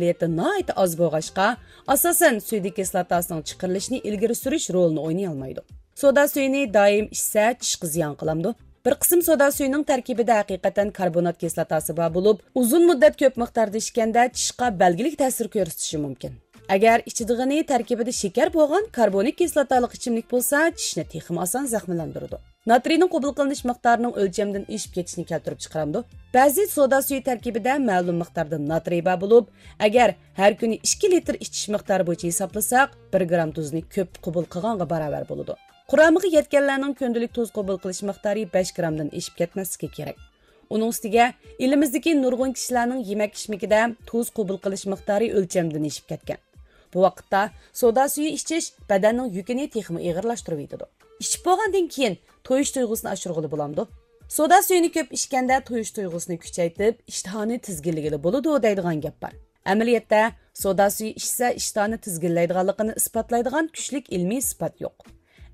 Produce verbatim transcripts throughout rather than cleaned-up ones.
پائالىيىتى ناھايىتى ئاز بولغاچقا، ئاساسەن سۈيدۈك كىسلاتاسىنىڭ چىقىرىلىشىنى ئىلگىرى سۈرۈش رولىنى ئوينىيالمايدۇ. سودا سۈيىنى دائىم ئىچسە، چىشقا زىيان قىلامدۇ؟ بىر قىسىم سودا سۈيىنىڭ تەركىبىدە ھەقىقەتەن كاربونات كىسلاتاسى بار بولۇپ، ئۇزۇن مۇددەت كۆپ مىقداردا ئىچكەندە چىشقا بەلگىلىك تەسىر كۆرسىتىشى مۇمكىن. ئەگەر ئىچىدىغىنى تەركىبىدە شېكەر بولغان كاربونىك كىسلاتالىق ئىچىملىك بولسا، چىشنى تېخىمۇ ئاسان زەخىملەندۈرىدۇ. ناترىينىڭ قوبۇل قىلىنىش مىقدارىنىڭ ئۆلچەمدىن ئېشىپ كېتىشىنى كەلتۈرۈپ چىقىرامدۇ؟ بەزى سودا سۈيى تەركىبىدە مەلۇم مىقداردا ناترىي بار بولۇپ، ئەگەر ھەر كۈنى ئىككى لىتىر ئىچىش مىقدارى بويىچە ھېسابلىساق، بىر گرام تۇزنى كۆپ قوبۇل قىلغانغا باراۋەر بولىدۇ. قۇرامىغا يەتكەنلەرنىڭ كۈندىلىك تۇز قوبۇل قىلىش مىقدارى بەش گرامدىن ئېشىپ كەتمەسلىكى كېرەك. ئۇنىڭ ئۈستىگە، ئېلىمىزدىكى نۇرغۇن كىشىلەرنىڭ يېمەك-ئىچمىكىدە تۇز قوبۇل قىلىش مىقدارى ئۆلچەمدىن ئېشىپ كەتكەن. بۇ ۋاقىتتا سودا سۈيى ئىچىش بەدەننىڭ يۈكىنى تېخىمۇ ئېغىرلاشتۇرۇۋېتىدۇ. ئىچىپ بولغاندىن كېيىن تويۇش تۇيغۇسىنى ئاشۇرغىلى بولامدۇ؟ سودا سۈيىنى كۆپ ئىچكەندە تويۇش تۇيغۇسىنى كۈچەيتىپ، ئىشتىھانى تىزگىنلىگىلى بولىدۇ دەيدىغان گەپ بار. ئەمەلىيەتتە، سودا سۈيى ئىچسە ئىشتىھانى تىزگىنلەيدىغانلىقىنى ئىسپاتلايدىغان كۈچلۈك ئىلمىي ئىسپات يوق.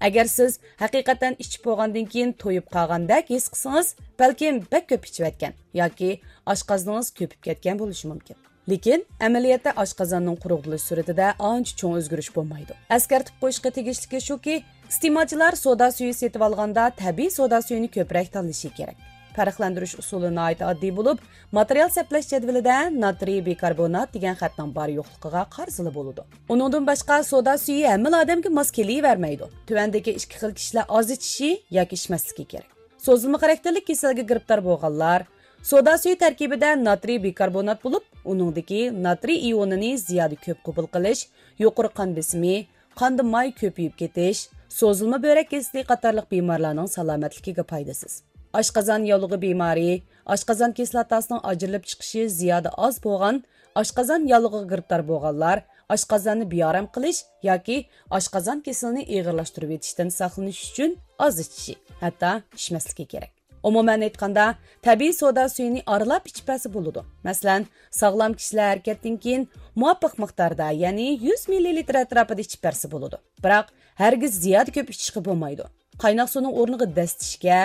ئەگەر سىز ھەقىقەتەن ئىچىپ بولغاندىن كېيىن تويۇپ قالغاندەك ھېس قىلسىڭىز، بەلكىم بەك كۆپ ئىچىۋەتكەن ياكى ئاشقازىنىڭىز كۆپۈپ كەتكەن بولۇشى مۇمكىن. لېكىن ئەمەلىيەتتە ئاشقازاننىڭ قۇرۇقلىنىش سۈرئىتىدە ئانچە چوڭ ئۆزگىرىش بولمايدۇ. ئەسكەرتىپ قويۇشقا تېگىشلىكى شۇكى، ئىستېمالچىلار سودا سۈيى سېتىۋالغاندا تەبىئىي سودا سۈيىنى كۆپرەك تاللىشى كېرەك. پەرقلەندۈرۈش ئۇسۇلى ناھايىتى ئاددىي بولۇپ، ماتېرىيال سەپلەش جەدۋىلىدە ناترىي بىكاربونات دېگەن خەتنىڭ بار يوقلۇقىغا قارىسىلا بولىدۇ. ئۇنىڭدىن باشقا، سودا سۈيى ھەممىلا ئادەمگە ماس كېلىۋەرمەيدۇ. تۆۋەندىكى ئىككى خىل كىشىلەر ئاز ئىچىشى ياكى ئىچمەسلىكى كېرەك. سوزۇلما خاراكتېرلىك كېسەلگە گىرىپتار بولغانلار، سودا سۈيى تەركىبىدە ناترىي بىكاربونات بولۇپ، ئۇنىڭدىكى ناترىي ئىيونىنى زىيادە كۆپ قوبۇل قىلىش، يۇقىرى قان بېسىمى، قاندا ماي كۆپىيىپ كېتىش، سوزۇلما بۆرەك كېسىلى قاتارلىق بىمارلارنىڭ سالامەتلىكىگە پايدىسىز. ئاشقازان ياۋلۇقى بىمارى، ئاشقازان كىسلاتاسىنىڭ ئاجرىلىپ چىقىشى زىيادە ئاز بولغان، ئاشقازان ياۋلۇقىغا گىرىپتار بولغانلار ئاشقازاننى بىئارام قىلىش ياكى ئاشقازان كېسىلىنى ئېغىرلاشتۇرۇۋېتىشتىن ساقلىنىش ئۈچۈن ئاز ئىچىشى، ھەتتا ئىچمەسلىكى كېرەك. ئومۇمەن ئېيتقاندا، تەبىئىي سودا سۈيىنى ئارىلاپ ئىچىپ بەرسە بولىدۇ. مەسىلەن، ساغلام كىشىلەر ھەرىكەتتىن كېيىن مۇۋاپىق مىقداردا، يەنى يۈز مىللىلىتىر ئەتراپىدا ئىچىپ بەرسە بولىدۇ. بىراق، ھەرگىز زىيادە كۆپ ئىچىشكە بولمايدۇ. قايناق سۇنىڭ ئورنىغا دەسسىشكە،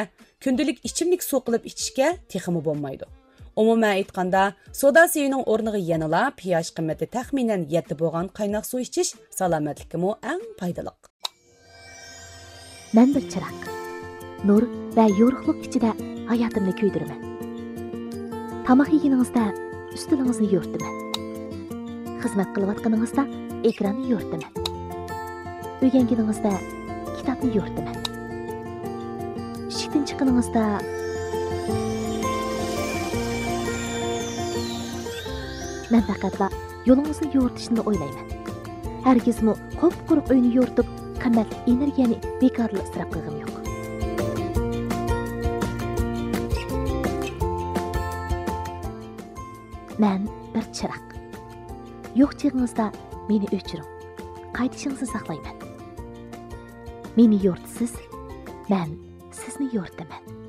كۈندىلىك ئىچىملىك سۇ قىلىپ ئىچىشكە تېخىمۇ بولمايدۇ. ئومۇمەن ئېيتقاندا، سودا سۈيىنىڭ ئورنىغا يەنىلا پىئاش قىممىتى تەخمىنەن يەتتە بولغان قايناق سۇ ئىچىش سالامەتلىككىمۇ ئەڭ پايدىلىق. مەن بىر چىراغ. نۇر ۋە يورۇقلۇق ئىچىدە ھاياتىمنى كۆيدۈرىمەن. تاماق يېگىنىڭىزدە ئۈستىلىڭىزنى يورۇتىمەن. خىزمەت قىلىۋاتقىنىڭىزدا ئېكراننى يورۇتىمەن. ئۆگەنگىنىڭىزدە كىتابنى يورۇتىمەن. ئىشىكتىن چىققىنىڭىزدا مەن پەقەتلا يولىڭىزنى يورۇتۇشنىلا ئويلايمەن. ھەرگىزمۇ قۇپقۇرۇق ئۆينى يورۇتۇپ، قىممەتلىك ئېنېرگىيەنى بىكارلا ئىسراپ قىلغۇم يوق. مەن بىر چىراغ. يوق چېغىڭىزدا مېنى ئۆچۈرۈڭ. قايتىشىڭىزنى ساقلايمەن. مېنى يورۇتىسىز، مەن سىزنى يورۇتىمەن.